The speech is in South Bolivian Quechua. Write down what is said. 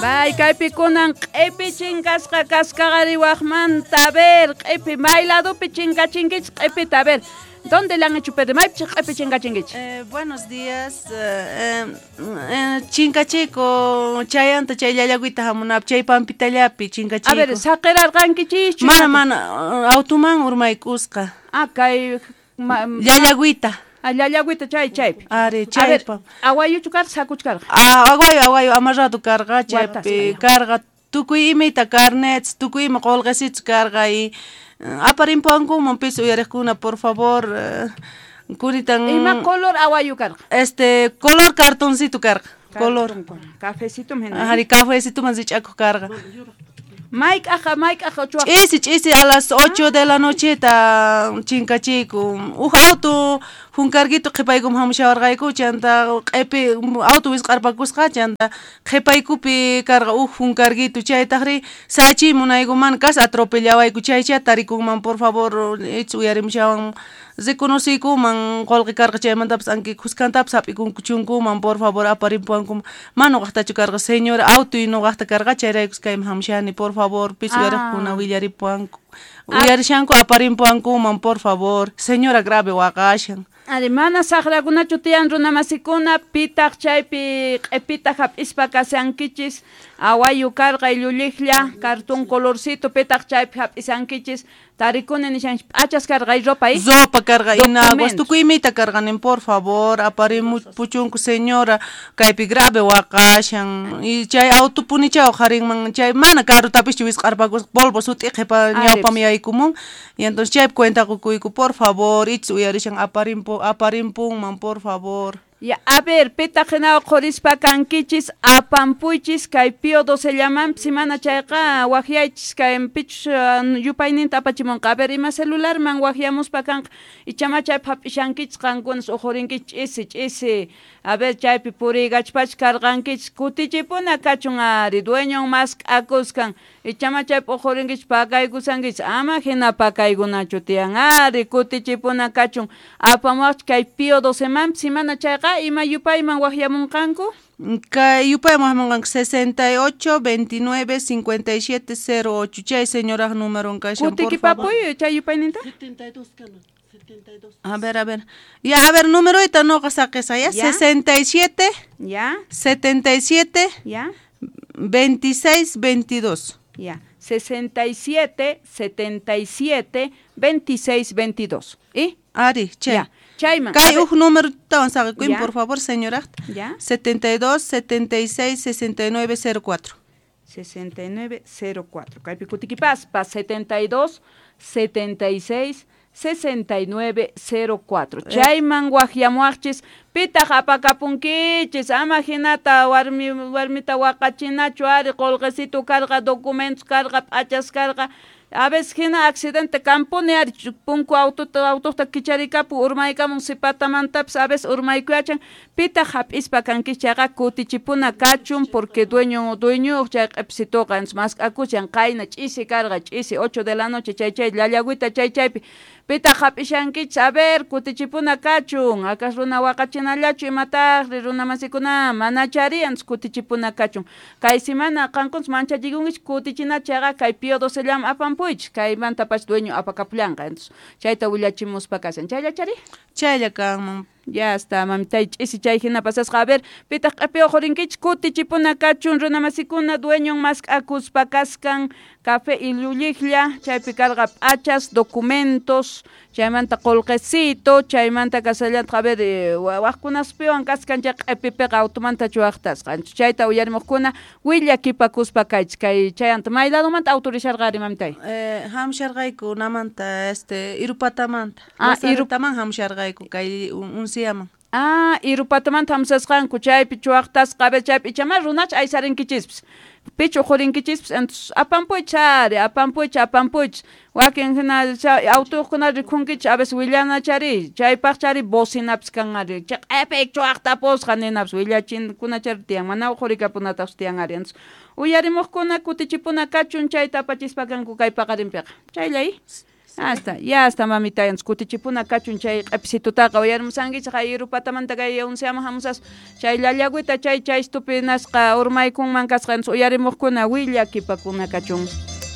Bay, kaypi kunan q'ipi chinkasqa kaskaqari wajmanta, a ver, q'ipi, may ladopi chinkachinkichis q'ipita, a ver, ¿dónde le han hecho perder? Maypi q'ipi chinkachinkichis? Buenos días. Chinkachiyku chayanta chay llallagüita hamunapaq chay pampitallapi chinkachiyku. A ver, saqirarqankichischu? Mana, mana, automan urmaykusqa. Ah, kay llallagüita. Ah, llallagüita chay chaypi. Ari, chaypa. Aguayuchu karqa, sakuchu karqa? Ah, aguayo, aguayo, amarrado karqa, chaypi karqa. Tukuy imita carnets, tukuy ima qolqesichu karqa y aparimpuankuman pis uyariqkuna, por favor, kunitan. Ima color aguayo karqa? Este, color cartoncito karqa, color. Cafecito hina. Ari, cafecito man rich'akuq karqa. Mayk'aqa, mayk'aqa chuwaq. Ch'isi, ch'isi, a las 8 de la noche ta chinkachiyku. Uj auto junkarguito qhipaykum hamushawarqayku, chanta q'ipi auto wisq'arpakusqa, chanta qhipaykupi karqa uj junkarguito, chaytaqri sachiy munaykuman kas atropellawayku, chaycha tarikunman, por favor, ich uyarimushawan reconociykuman qolqe karqa chaymantapas anki khuskantapas hap'ikunku chunkuman, por favor, aparimpuankuman. Mana nuqaqtachu karqa, señor, auto y nuqaqta karqa, chayraykus kayman hamushani, por favor, pis uyariqkuna willaripuanku. Uyarishanku aparimpuankuman, por favor, señora grave waqashan. Ari, mana saqrakunachu tiyan runamasikuna, pitaq chaypi q'ipita hap'ispa kashankichis, awayu karqa illuliqlla, cartón colorcito, pitaq chaypi hap'isankichis, tarikuni nishanchis, p'achas karqa y ropa, ¿eh? Ropa karqa, inaguas, tukuy imita karqanin, por favor, aparimupuchunku, señora, kaypi grave waqashan, y chay autopunichaw qarinman, chay mana carrutapischu wisq'arpakusqa, polvo sut'i qhipa ñawpam yaykumun, y entonces chaypi cuenta qukuyku, por favor, ich uyarishan aparimpunman, por favor. Ya, a ver, pitaq hina qhurispa kankichis, apampuychis, kay Pío 12 llamanpis, mana chayqa waqyaychis, kay pichus yupayninta apachimunqa. A ver, ima celularman waqyamuspa kanqa, ichama chaypi hap'ishankichis qankunas uqhurinkichis ch'isi, ch'isi. A ver, chaypi puriykachpachis karqankichis, kutichipuna kachun ari, dueñon mask'akuskan, ichama chaypi uqhurinkichis pakaykusankichis, ama hina pakaykunachu tiyan ari, kutichipuna kachun, apamuwaqchis kay Pío 12 manpis, mana chayqa ima yupayman waqyamunqanku? Kay yupayman waqyamunqanku 68 29 57 08, chay señoraj númeron kashan, por favor. Kutikipapuy chay yupayninta? 72 kana, 72. A ver, a ver. Ya, a ver, número noqa saqisa, ya? 67. Ya. 77. Ya. 26 22. Ya. 67 77 26 22. ¿Y? Ari, che. Ya. Chayman. Kay uj número tawan saqikuy, por favor, señora. Ya. 72 76 69 04. 69 04. Kaypi kutikipaspa 72 76 69 04. Chayman waqyamuwaqchis, pitaq apakapunkichis, ama hinata warmita waqachinachu ari, qolqesitu karqa, documentos karqa, p'achas karqa. A veces hina accidente kampuni ari, punku autota kicharikapu, urmaykamun sipatamantapis, a veces urmaykuyachan, pitaq hap'ispa kankichis chayqa kutichipuna kachun, porque dueño chay q'ipsituqa, entonces mask'akushan, qayna ch'isi karqa, ch'isi 8 de la noche, chay chay llallagüita chay chaypi, pitaq hap'ishankichis, a ver, kutichipuna kachun, akas runa waqachinallachu imataqri runamasikuna, mana chari, entonces kutichipuna kachun. Kay semana qankunas manchachikunkichis kutichina chayqa kay Pío 12 llama apampuychis, kaymanta pacha dueño apakapullanqa, entonces chayta willachimuspa kashan. Chaylla chari? Chaylla kanman. Ya está, mamitay, ch'isi chay hina pasasqa. A ver, pitaq q'ipi uqhurinkichis, kutichipuna kachun runamasikuna, dueñon mask'akuspa kaskan, café illuliqlla, chaypi karqa p'achas, documentos, chaymanta qolqesito, chaymanta kasallantaq, a ver, waqkunaspiwan kaskan chay q'ipipiqa automanta chuwaqtasqa. Chayta uyarimuqkuna willakipakuspa kaychis, kay chayanta may ladomanta autorizarqa ari, mamitay? Hamusharqayku namanta, Irupatamanta. Ah, Irupataman hamusharqayku kay unsiaman. Ah, Irupatamanta hamusasqanku, chaypi chuwaqtasqa, a ver, chaypi ichama runacha aysarinkichispis, pichu uqhurinkichispis, entonces apampuychis ari, apampuychis, apampuychis, wakin hina autoqkuna rikhunkichis, a veces willanachari, chaypaq chari bocinapis kan ari, chay q'ipi chuwaqtapusqa ninapis, willachinkunachari tiyan, mana uqhurikapunataqchu tiyan ari, entonces uyarimuqkuna kutichipuna kachun, chayta apachispa kanku kay paqarinpiqa. Chayllay. Hasta, ya hasta mamita, kutichipuna kachun chay q'episitutaqa uyarimusankichik ayrupatamanta kay unsiaman hamusas chay llallagüita chay chaystupi nasqa urmaykunman kasqa uyarimuqkuna willakipakuna kachun.